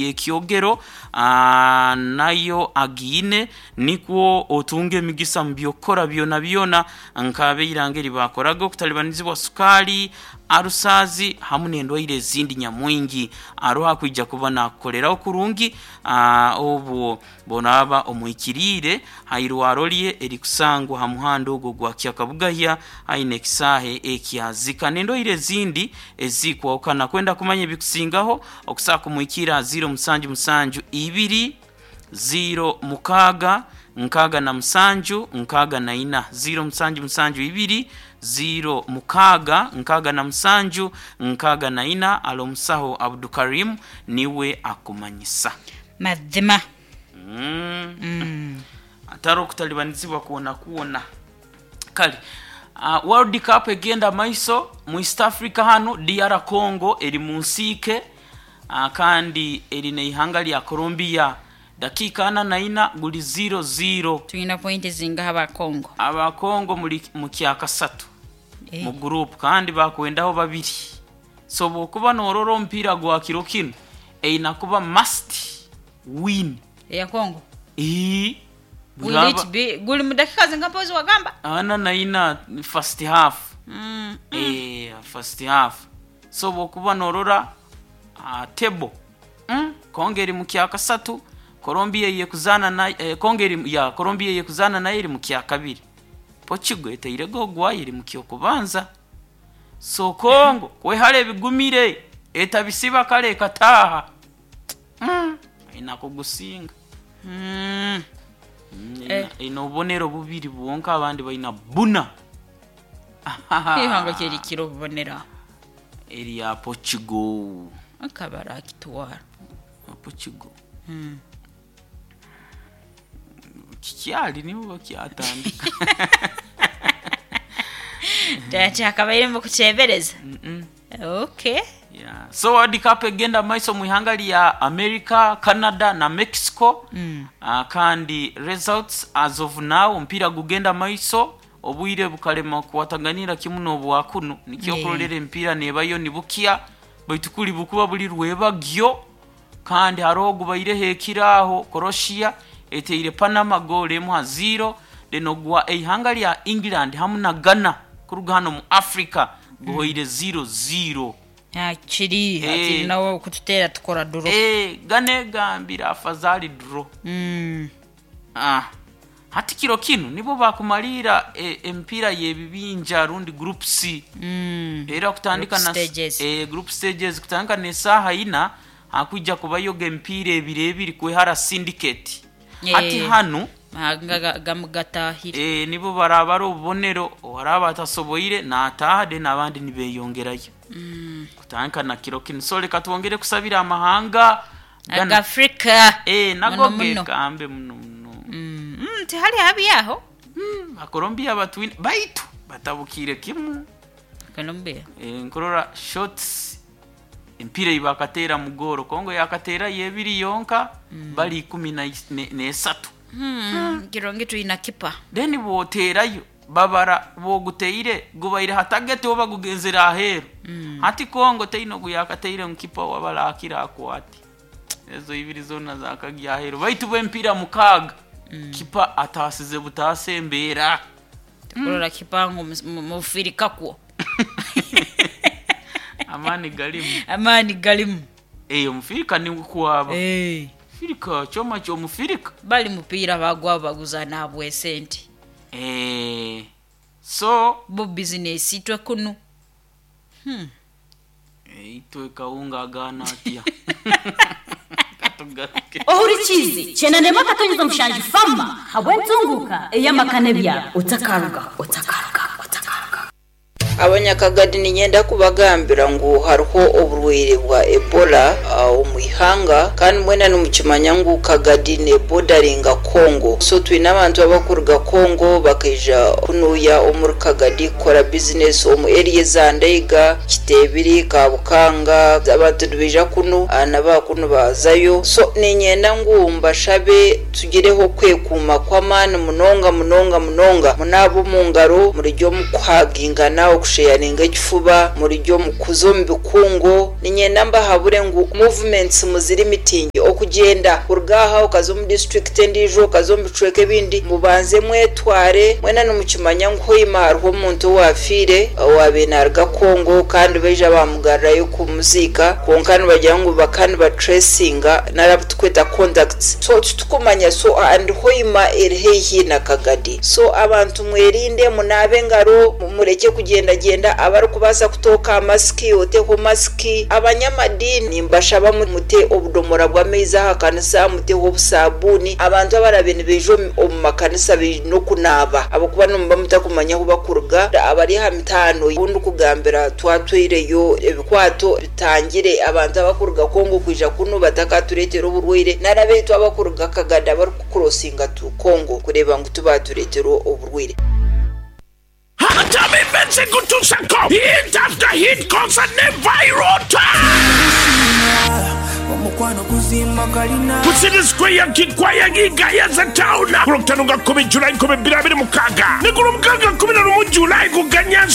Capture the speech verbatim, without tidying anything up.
Yekyogero ah, nayo agiine nikwo otunga emigisa mu byokukora byona byona nk'abeiranga eri bakoraga okutalibanizibwa sukaali, arusaazi hamu n'endwaire ezindi nyamwingi. Aroho akwija kuba nakukoleraho kurungi ah, obwo bonaaba omuhikiriire hairwaro rye erikusangwa ha muhanda ogwo gwa Kyakabugahya aine ekisaahe ekyazika n'endwaire ezindi ezikwahukana. Kwenda kumanya ebikusingaho okusobola kumuhikiira ha ziro musanju musanju ibiri ziro mukaaga nkaaga na musanju nkaaga na ina, ziro musanju musanju ibiri ziro mukaaga nkaaga na musanju nkaaga na ina. Ali omusaho Abdukarim niwe akumanyisa. Mazima. Mm. Mm. Atari okutalibanizibwa kwona kwona. Kale uh, World Cup egenda maiso mu East Africa hanu D R Congo eri mu nsiike uh, kandi eri neihanga lya Colombia dakiika ana na ina guli zero zero. Tulina pointi zingaha aba Congo? Aba Congo muli mu kyakasatu Eh. mu group kandi bakwendaho babiri, so bwokuba norora omupiira gwa kiro kinu eina kuba must win. Eya Congo? Ii. Will it be guli mu dakika zinga mpozi wagamba? Ana na ina first half. Mm. Eh, first half. So bwokuba norora uh, table mm? Congo eri mu kyakasatu, Colombia yekuzana na eh, Congo eri ya Colombia yekuzana nayo eri mu kyakabiri, Portugal eteirego ogwayo eri mu kyokubanza. So Congo kwehara ebigumire etabisiba kale ekataaha mm. Aina kugusinga. Mm. Mm, Eh. ina- ina obubonero bubiri bwonka, abandi balina buna. Ihanga kyerikira obubonero Eri ya Portugal. akaba akitwara. Portugal. Mm. Kikyali nibo bakyatandika. Kyakabaire mu kuteebereza. Mm-mm. Okay. Yeah. So World Cup egenda maiso mu ihanga lya America, Canada na Mexico. Mm. uh, kandi results as of now, omupiira gugenda maiso, obwire bukalema kuwataganira kimu n'obwakunu nikyo Yeah. okurolera emipiira nebayo nibukya, baitu kuli bukuba buli rwebagyo kandi hariho ogubaireho ekiraaho, Croatia eteire Panama goal emu ha zero, then ogwa eihanga lya England hamu na Ghana kuruga hano mu Africa guhoire zero zero. Hakiri Eh. hakiri nawe kututeera tukora draw. Eh, Ghana egambire afazali draw. Mm. Ah. Hati kiro kinu nibo bakumalira e, emipiira y'ebibinja rundi group C. Mm. Era kutandika Group na stages. eh, group stages kutandika n'esaaha ina hakwija kubayoga emipiira ebiri ebiri kwehara syndicate. Eh. Hati hanu Mahanga gamugatahire. e, nibo barabara obubonero, owaraba atasoboire n'ataaha, then abandi nibeyongerayo Mm. kutandika na kiro kinu. So leka twongere kusabira amahanga Ghana. Agafrika. Eh, nago Muno muno. gekambe muno muno. Mm. Mm, tihali habi aho. Mm, Bakolombia batwine baitu batabukire kimu. Colombia. E, nkurora shots empira ibakateera mu goolo, Kongo yakateera yebiri yonka mm. bali ikumi na is- ne- nesatu. Mm. Kirongi tulina kipa. Then bwoteerayo babara bwoguteire gubaire hatagete oba gugenzere aheeru mm. Hati Kongo teine ogu yakateire mukipa wabarakira akwate ezo ibiri zona zakagya aheeru, baitu bw'empiira mukaaga mm. kipa ataasize butaasa embeera. Tukurora kipa ngu mufirika kwo. Amaani galimu. Amaani galimu. Eh, omufirika niwe kwaba. Eh. Firika kyoma ky'omufirika. Bali mupiira bagwa baguza nabwe sente. Eh, so Bo bizinesi itwe kunu. Hmm. eh, itwe kawunga agaana atya? Katugaruke. Ohurikize chenanema akatonyeza mushanju fama habwentunguka eyamakane byabo otakaruga otakaruga otakaruga. Abanyakagadi ninyenda kubagambira ngu hariho oburwaire bwa Ebola ah, omu ihanga, kandi mwena nimukimanya ngu Kagadi nebodaringa Congo, so twine abantu abakuruga Congo bakaija kunuya omuri Kagadi kukora bizinesi omu area za Ndeiga, Kitebiri, Kabukanga. Abantu nibaija kunu ah, naba kunu bazayo, so ninyenda ngu mbashabe tugireho kwekuuma kw'amaani munonga munonga munonga. Munaaba omu ngaro, murijya omu kuhagingana, okusheyaringa ekifuba, murijya omu kuza omu bikungu. Ninyenda mbahabure ngu movements. Muziri mitingi okugenda kuruga aha okaza omu district endiijo, okaza omu bicweka ebindi, mubanze mwetware mwena. Nimukimanya ngu Hoima hariho omuntu owafiire owabiire naruga Kongo, kandi baija bamugarrayo kumuziika, konka nibagira ngu baka nibatracinga nari tukweta contacts, so titukumanya. So and Hoima eri haihi na Kagadi, so abantu mwerinde, munaabe engaro, mureke kugendagenda. Abarikubaasa kutooka masiki, oteho masiki. Abanyamadini mbashaba mute obudomora bw'amaizi aha kanisa, muteho obusabuuni. Abantu abarabe nibaija omu makanisa baine okunaaba, ahabwokuba nimuba mutakumanya ahu bakuruga. Abari aha mitaano obundi kugambira twatwireyo ebikwato bitangire abantu abakuruga Kongo kwija kunu batakatureetera oburwaire, nari abaitu abakuruga Kagadi abarikukurosinga tu Kongo kureeba ngu tubatureetera oburwaire. Hatami Kutusako hit after hit concert ne Virota Kusini Square, Kikwaya, Gigayaza Town, ku Lwokutaano nga kkumi Julayi nkumi bbiri abiri mukaaga.